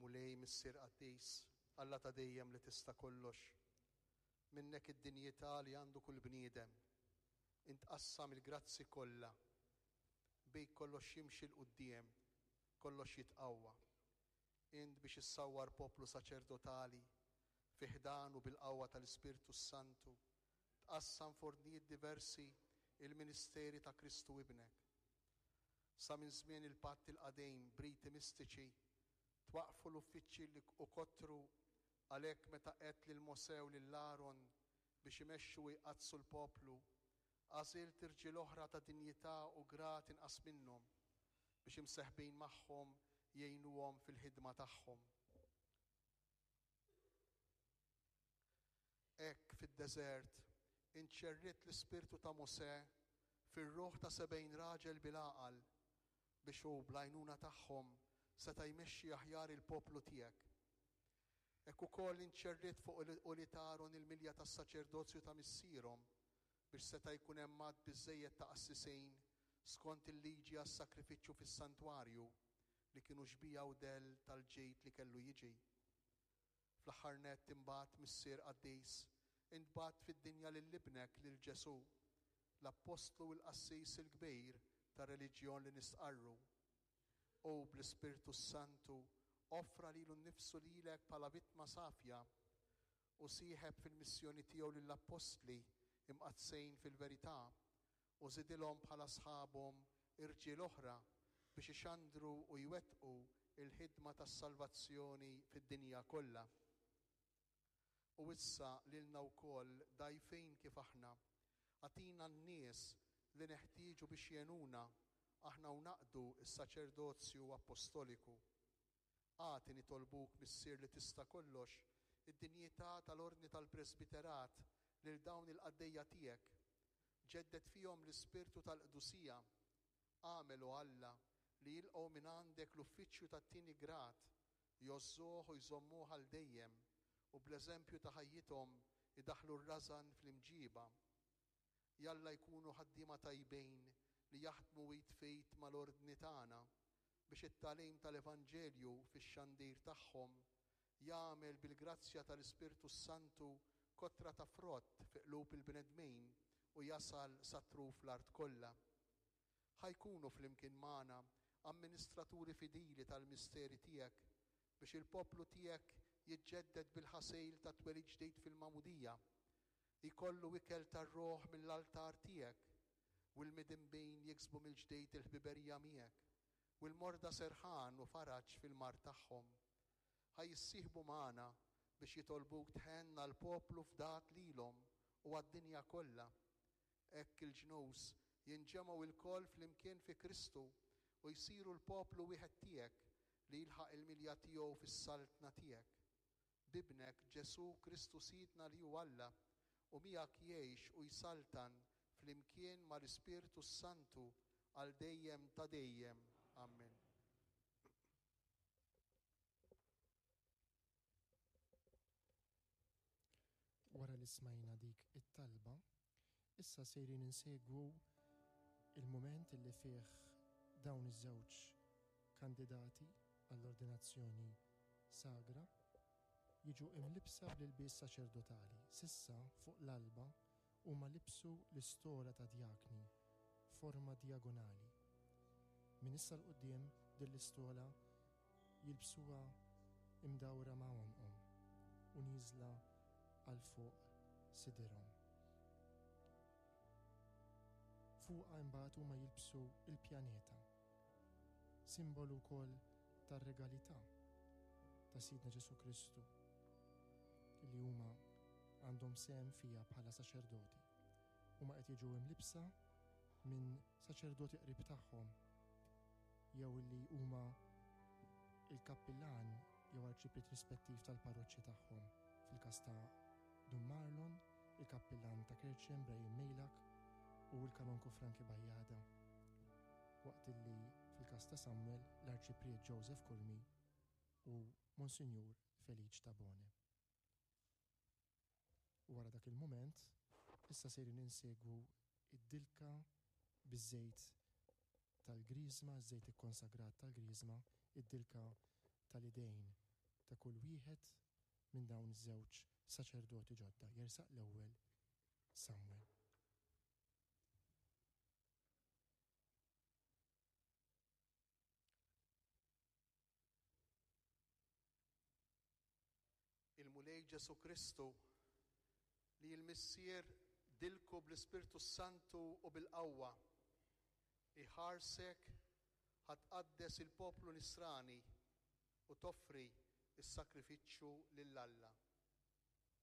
Mulej Missier Qaddis, Alla ta' dejjem li tista' kollox. Minnek id-dinjità li għandu kull bniedem. Int tqassam il-grazzi kollha. Bik kollox jimxi 'l quddiem, kollox jitqawwa. Int biex issawwar poplu saċerdotali, fi ħdanu bil-qawwa tal-Ispirtu s-Santu, tqassam f'ordnijiet diversi il-ministeri ta' Kristu Ibnek. Sa minn żmien il-Patt il-Qadim b'riti mistiċi twaqqfu l-uffiċċji li u kottru għalhekk meta għedt lil Mosè u lil Aron biex imexxu u jqaddsu l-poplu, għażilt irġiel oħra ta' dinjità u grad inqas minnhom biex imseħbin magħhom jgħinuhom fil-ħidma tagħhom. Hekk fid-deżert int xerridt l-ispirtu ta' Mosè fir-ruħ ta' 70 raġel bil-għaqal, biex hu bl-għajnuna tagħhom seta' jmexxi aħjar il-poplu tiegħek. Hekk ukoll int xerridt fuq ulied Aron il-milja tas-saċerdozju ta' missierhom, biex seta' jkun hemm għadd biżżejjed ta' qassisin skont il-liġi għas-sagrifiċċju fis-santwarju, li kienu xbieha u dell tal-ġid li kellu jiġi. Fl-aħħar nett imbagħad, Missier qaddis, int bgħatt fid-dinja lil Ibnek, lil Ġesù, l-Appostlu u l-Qassis il-Kbir tar-reliġjon li nistqarru. Hu, bl-Ispirtu s-Santu, offra lilu nnifsu lilek bħala vittma safja u sieħeb fil-missjoni tiegħu lill-Appostli imqaddsin fil-verità u żidilhom bħala sħabhom irġiel oħra biex ixandru u jwettqu l-ħidma tas-salvazzjoni fid-dinja kollha. U issa lilna wkoll, dgħajfin kif aħna, agħtina n-nies li neħtieġu biex jgħinuna aħna u naqdu s-saċerdozju appostoliku. Agħti, nitolbuk, Missier li tista' kollox, id-dinjità tal-ordni tal-presbiterat lil dawn il-qaddejja tiegħek. Ġedded fihom l-ispirtu tal-qdusija. Agħmel, o Alla, li jilqgħu mingħandek l-uffiċċju tat-tieni grad, jgħożżuh u jżommuh għal dejjem, u bl-eżempju ta' ħajjithom idaħħlu r-rażan fl-imġiba. Jalla jkunu ħaddiema tajbin li jaħdmu id f'id mal-Ordni tagħna biex it-tagħlim tal-Evanġelju fix-xandir tagħhom jagħmel bil-grazzja tal-Ispirtu s-Santu kotra ta' frott fi qlub il-bnedmin u jasal sa truf l-art kollha. Ħa jkunu flimkien magħna amministraturi fidili tal-misteri tiegħek biex il-poplu tiegħek jiġġedded bil-ħasil tat-twelid ġdid fil-magħmudija, jkollu ikel tar-ruħ mill-altar tiegħek, u l-midinbin jiksbu mill-ġdid il-ħbiberija miegħek, u l-morda serħan u faraġ fil-mard tagħhom. Ħa jissieħbu magħna biex jitolbuk tħenn għall-poplu fdat lilhom u għad-dinja kollha. Hekk il-ġnus jinġemgħu lkoll flimkien fi Kristu u jsiru l-poplu wieħed tiegħek li jilħaq il-milja tiegħu fis-saltna tiegħek. B'Ibnek, Ġesù Kristu Sidna li hu Alla, u miegħek jgħix u jsaltan flimkien mal-Ispirtu s-Santu għal dejjem ta' dejjem. Ammen. Wara li smajna dik it-talba, issa sejrin insegwu il-mument li fih dawn iż-żewġ kandidati għall-ordinazzjoni sagra jiġu imlibbsa bl-ilbies saċerdotali. S'issa, fuq l-alba, huma libsu l-istola ta' djakni f'forma dijagonali. Minn issa 'l quddiem din l-istola jilbsuha imdawra ma' għonqhom u nieżla għal fuq sidirhom. Fuqha imbagħad huma jilbsu l-pjaneta, simbolu wkoll tar-regalità ta' Sidna Ġesù Kristu li huma għandhom sehem fiha bħala saċerdoti. Huma qed jiġu imlibbsa minn saċerdoti qrib tagħhom jew li huma il-kappillan jew arċipriet rispettiv tal-parroċċi tagħhom, fil-każ ta' Dun Marlon, il-kappillan ta' Kerċem Brian Mejlak u l-kanonku Frankie Bajada, waqt illi fil-każ ta' Samuel l-Arċipriet Joseph Curmi u Monsinjur Feliċ Tabone. U wara dak il-mument, issa sejrin insegwu d-dilka biż-żejt tal-griżma, iż-żejt ikkonsagrat tal-griżma, id-dilka tal-idejn. ta' kull wieħed minn dawn iż-żewġ saċerdoti ġodda. Jersaq l-ewwel Samuel. Il-Mulej Ġesù Kristu, li l-Missier dilku bl-Ispirtu s-Santu u bil-qawwa, iħarsek ħa tqaddes il-poplu Nisrani u toffri s-sagrifiċċju lil Alla.